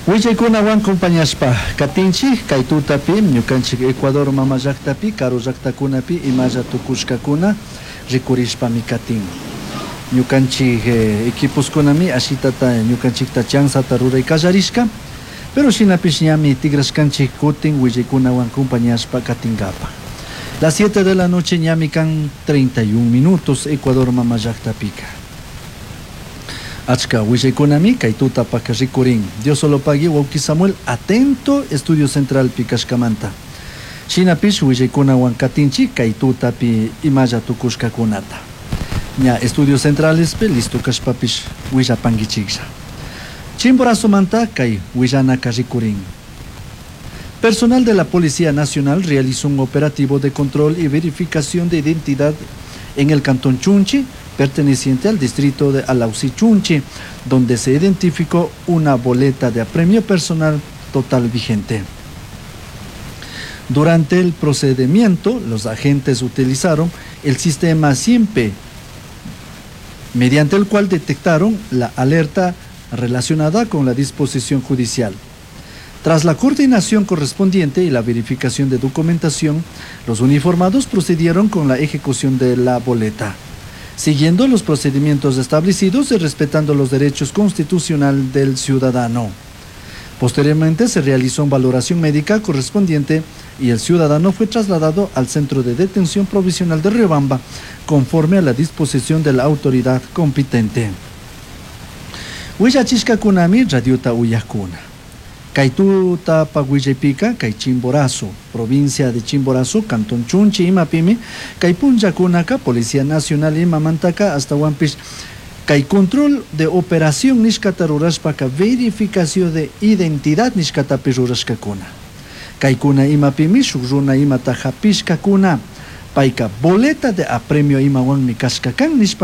Willaykunawan compañashpa katinchik kay tutapi ñukanchik Ecuador mama llaktapi karu llaktakunapi imalla tukushkakuna rikurishpami katin. Ñukanchik equiposkunami ashitata ñukanchikta chanzata ruray kallarishka, pero shinapish ñami tigrashkanchik kutin willaykunawan compañashpa katinkapa. Las 7 de la noche ñami kan 31 minutos Ecuador mama llaktapika. Achka willaykunami kay tutapak rikurin. Diosolopagui wawki Samuel atento Estudio Central kashkamanta. Shinapish willaykunawan katinchik kay tutapi imalla tukushkakunata. Ña Estudios Centralespi listo kashpapish willapankichiklla. Chimborazomanta kay willanaka rikurin. Personal de la Policía Nacional realizó un operativo de control y verificación de identidad en el cantón Chunchi, perteneciente al distrito de Alausí Chunchi, donde se identificó una boleta de apremio personal total vigente. Durante el procedimiento, los agentes utilizaron el sistema SIEMPE, mediante el cual detectaron la alerta relacionada con la disposición judicial. Tras la coordinación correspondiente y la verificación de documentación, los uniformados procedieron con la ejecución de la boleta, siguiendo los procedimientos establecidos y respetando los derechos constitucionales del ciudadano. Posteriormente se realizó una valoración médica correspondiente y el ciudadano fue trasladado al centro de detención provisional de Riobamba, conforme a la disposición de la autoridad competente. Willachishkakunami radiota uyakuna. Kay tutapa willaypika, kay Chimborazo, provincia de Chimborazo, Cantón Chunchi, imapimi, kay punllakunaka, Policía Nacional imamantaka, ashtahuanpish, kay control de operación nishkata rurashpaka, verificación de identidad nishkatapi rurashkakuna. Kaykuna imapimi, shuk runa imata hapishkakuna, payka boleta de apremio imawanmi kashka kan nishpa.